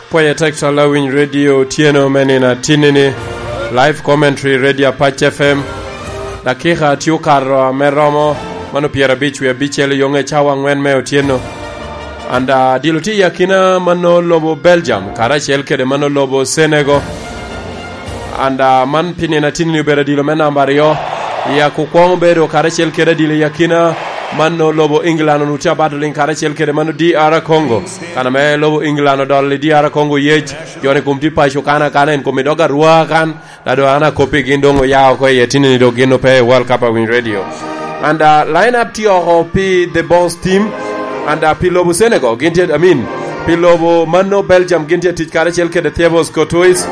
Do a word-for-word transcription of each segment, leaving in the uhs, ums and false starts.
Pwoye tek, cwal awiny radio otyeno me nino atinni-ni, live commentary radio Apac F M. Dakika tye okato ame romo mano pyerabic wie abicel i yoŋe cawa aŋwen me otyeno. And, ah, dilo tye i akina mano lobo Belgium, karacel kede mano lobo Senegal. And, ah, man pi nino atinni obedo adilo me namba aryo. I akukwoŋ obedo karacel kede adilo i akina mano lobo England, onutye abato liŋ karacel kede mano D R Congo. Kan ame lobo England odolo i D R Congo yec, jo ni kom tye paco kan akana, en kom i dog arwa kan, da do an akoppi gin doŋ oya oko i atinni dok gin ope i World Cup awiny radio. And, uh, line up tye oko pi the boss team. And, uh, pi lobo Senegal, gin tye, I mean, pi lobo mano Belgium, gin tye tic karacel kede Thibaut Courtois.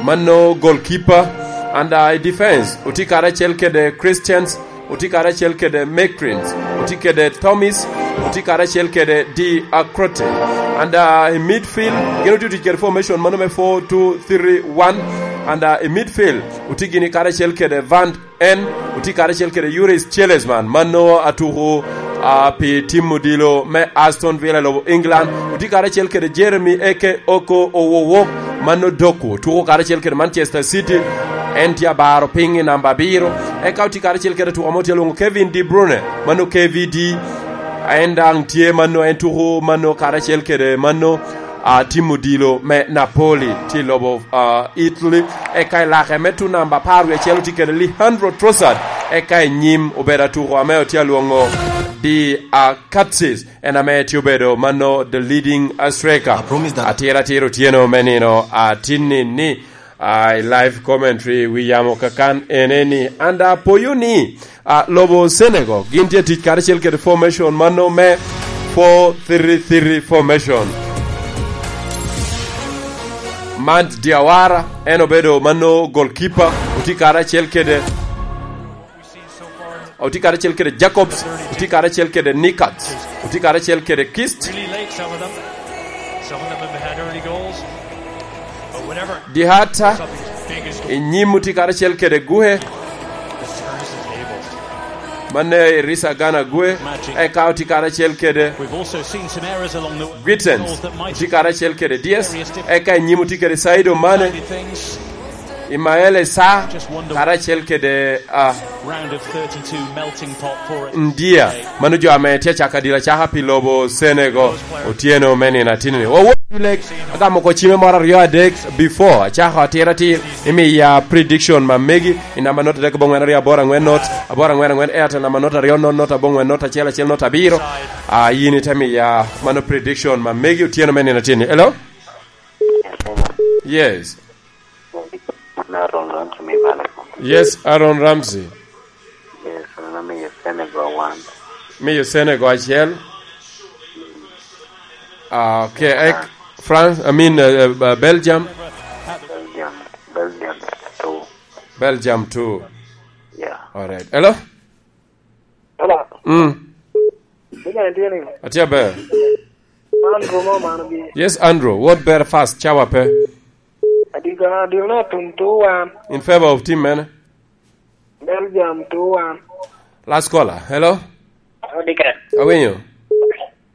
Mano goalkeeper. And, uh, i defense, oti karacel kede Christians, oti karacel kede Mekrins, oti kede Thomas, oti karacel kede D Acrote. And, uh, i midfield, gin oti tic kede formation mano me four two three one. And, uh, i midfield, oti gini karacel kede Van En, oti karacel kede Juris Chilesman, mano atuko, ah, pi tim odilo me Aston Villa i lobo England. Oti karacel kede Jeremy Eke Oko Owowok, mano Doku, tuko karacel kede Manchester City. En tye abaro piny i namba abiro. Eka oti karacel kede atuko amo tye alwoŋo Kevin De Bruyne, mano K V D. En daŋ tye mano, en tuko mano karacel kede mano, ah, tim odilo me Napoli, tye i lobo, ah, Italy. Eka i lake me tu namba apar wie acel otye kede Leandro Trossard. Eka i nyim obedo atuko ame otye alwoŋo Di Akatsis, en ame tye obedo mano the leading striker. I promise that atira atira otyeno me nino atinni ni, ah, i live commentary wi yamo kakan ene ni, and apoyo ni, ah, lobo Senegal, gin tye tic karacel kede formation mano me four three three formation. Mant Diawara, en obedo mano goalkeeper, oti karacel kede, oti karacel kede Jacobs, oti karacel kede Nikat, oti karacel kede Kist. Really late, some of them. Some of them have had early goals. Dihata, i nyim oti karacel kede Guhe. Manne Irisa Gana Guhe, eka oti karacel kede Guitens, oti karacel kede Dias, eka i nyim oti kede Saido Mane, Imael Esa, karacel kede, ah, Ndia, mano jo ame tye acaka dira caka pi lobo Senegal, otyeno me nino atinni. Wawot i lek, agamo oko cime moro aryo adek before acako atira atir, imiya prediction ma megi, i namba not adek aboŋwen aryo aboro aŋwen not, aboro aŋwen aŋwen Airtel, namba not aryo not not aboŋwen not acel acel not abiro. Ah, yin ite miya mano prediction ma megi otyeno me nino atinni. Hello? Yes. Yes. Aaron Ramsey, me Maleko. Yes, Aaron Ramsey. Yes, mano miyo Senegal one. Miyo Senegal acel. Ah, okay. Ek, France, I mean, uh, uh, Belgium. Belgium. Belgium two. Belgium two. Yeah. All right. Hello? Hello. Mm. Atye aber. Andrew mo man bi. Yes, Andrew. What better fast? Cawa pe. Adiga, adiga na tum two one. In favor of team mene? Belgium two one. Last caller. Hello? Odike. Awinyo.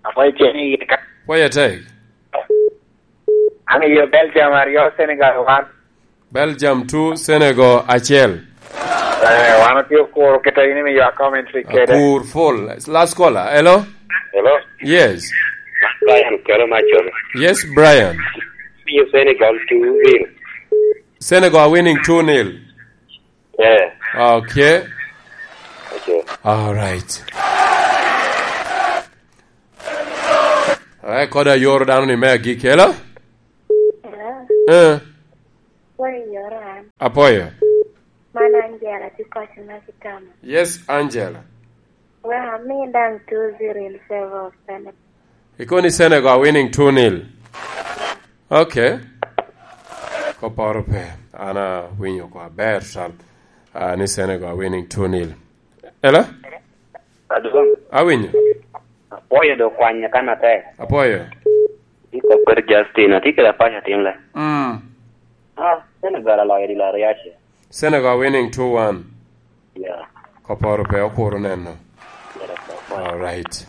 Apoyo ceni yika. Poyo tek. Amiyo Belgium aryo, Senegal one. Belgium two, Senegal acel. Eh, wan otye okuro keta in imiyo a commentary kede. Akur full. Last caller. Hello? Hello? Yes. Brian Kelo Machon. Yes, Brian. Miyo Senegal two nil. Senegal winning two nil. Yeah. Okay. Okay. All right. All right, kod ayoro dano ni me agikki. Hello? Hello. Eh. Where you are? Apoyo. Man Angela, tye kɔc ma kitamo. Yes, Angela. Well, me down two zero in favor of Senegal. Ikoni Senegal winning two nil. Okay. Koporo pe. Ana winyo kwa ber sal. Ah, ni Senegal winning two nil. Hello? Adwong. Awinyo. Apoyo do kwanya kan ate. Apoyo. Iko kwer Justin, ati kela pacha tim le. Mm. Ah, Senegal aloyo di laro yache. Senegal winning two one. Yeah. Koporo pe okuro neno. Yeah, that's all. All right.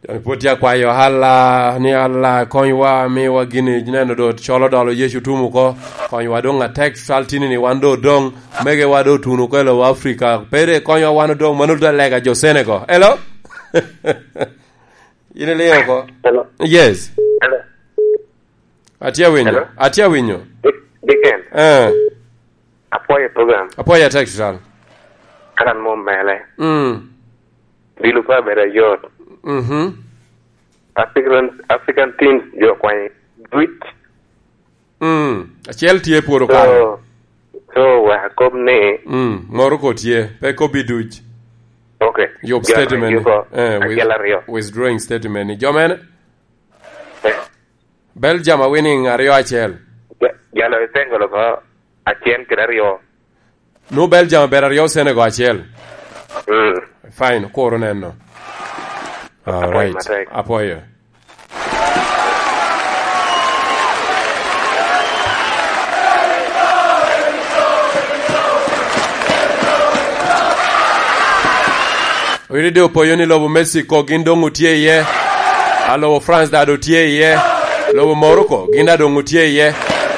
Pwod tye akwayo Allah ni Allah konywa, miwa gini neno do colo dolo Yecu tum oko. Konywa doŋ atek cal tini ni wan do doŋ, megewa do otuno oko i lobo Africa. Pere konywa wan odoŋ, mano te lega jo Senegal. Hello? In iliŋo oko? Hello. Yes. Hello. Atye awinyo. Hello? Atye awinyo. Dick-, Dickens. Eh. Apwoyo program. Apwoyo atek tutal. An mom mele. Mm. Bilo pa beda yot. Mhm. African, African teams jo kwany duc. Mm. Acel tye pwod okalo. So, so wek akob ni. Mm. Morocco tye. Pe kobbi duc. Okay. Yub jo statement ni. Yuko eh, with-, acel aryo. Withdrawing statement ni. Jo mene? Eh. Belgium a winning aryo acel. Ja-, jalo i Senegal oko acel kede aryo. Nu Belgium obedo aryo Senegal acel. Mm. Fine, kuro neno. All right. Apwoyo matek. Apwoyo. Wiri de opoyo ni lobo Mexico gin doŋ otye iye. A lobo France da doŋ tye iye. Lobo Morocco gin da doŋ otye iye.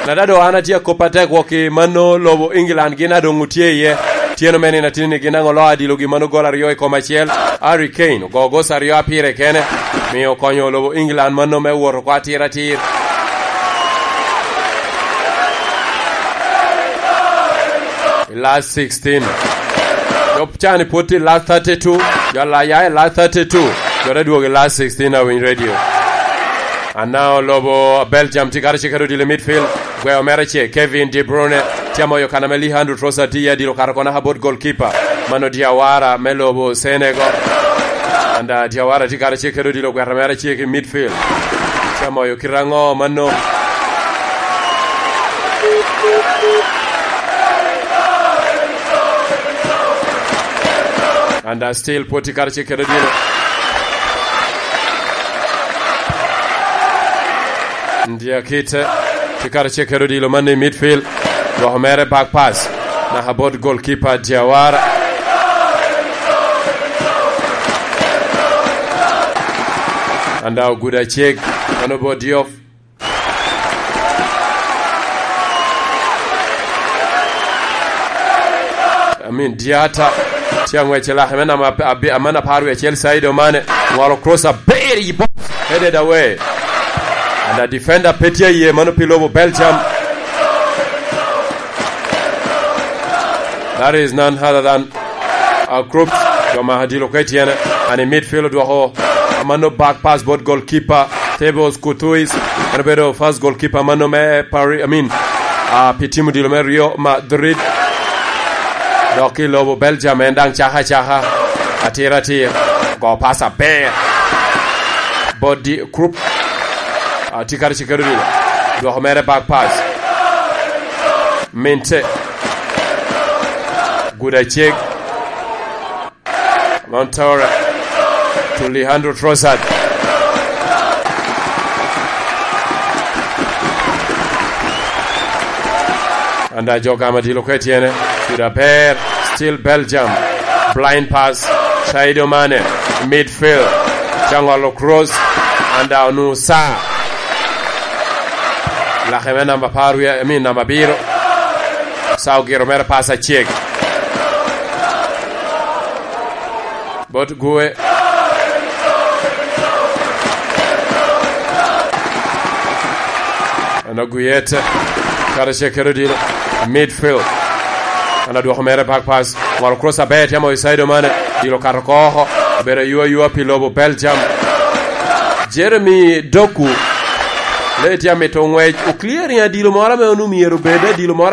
Na da doŋ an atye akop atek wok i mano lobo England gin da doŋ otye iye. Tyeno me nino atini ni gin aŋo lo adilo gi mano gol aryo i kom acel. Harry Kane ogo gosi aryo apire kene. Miyo okonyo lobo England mano me wot oko atir atir. I last sixteen. Jo cani pwod tye i last thirty-two. Jo alaya i last thirty-two. Jo te dwogo i last sixteen awiny radio. Ana olobo Belgium tye kare cikere odilo i midfield. Gweyo mere ce Kevin De Bruyne. Tye amoyo kana me Leandro Trossard tye adilo kare kona ha bot goalkeeper. Mano Diawara me lobo Senegal. And uh, Diawara tye kare cikere odilo gwero mere ce ki midfield. Tye amoyo kite aŋo mano? And uh, still pwod tye kare cikere odilo. Ndia kite, tye kare cikere odilo man i midfield. Dwoko mere back pass. Naka bot goalkeeper Diawara. And uh, ogudo acek. Mano bot Diouf. I mean, Diata tye aŋwec i lake me namba ab-, ab-, aman apar wie acel, Sadio Mane ŋolo cross aber i box, headed away. And a defender pe tye iye, mano pi lobo Belgium. That is none other than uh, Krupp, jo ma adilo ka i tyene, and i midfield odwoko amano back pass bot goalkeeper Thibaut Courtois, en obedo first goalkeeper amano me Paris, I mean, uh, pi tim odilo me Real Madrid. Dok ki lobo Belgium en daŋ caka caka, atir atir, go pass aber. Bot di Krupp, uh, tye kare cikere odilo, dwoko mere back pass. Minte. Guda cek. Montora to Leandro Trossard. Anda jo gama dilo kwe tyene. Guda ber. Still Belgium. Blind pass. Sadio Mane. Midfield. Cangolo cross. Anda onu sa. Lake me namba par wie, I mean, namba biro. Sa ogiro mere pass acek. Bot Gwe. Ano Guyete. Kare cek kero dilo. Midfield. Ano dwoko mere back pass. Ngolo cross aber, tye amo i side mane. Dilo kato oko. Obedo ayua ayua pi lobo Belgium. Jeremy Doku. Le tye amito ngwec. Oclearing adilo moro ame onu myero obed adilo moro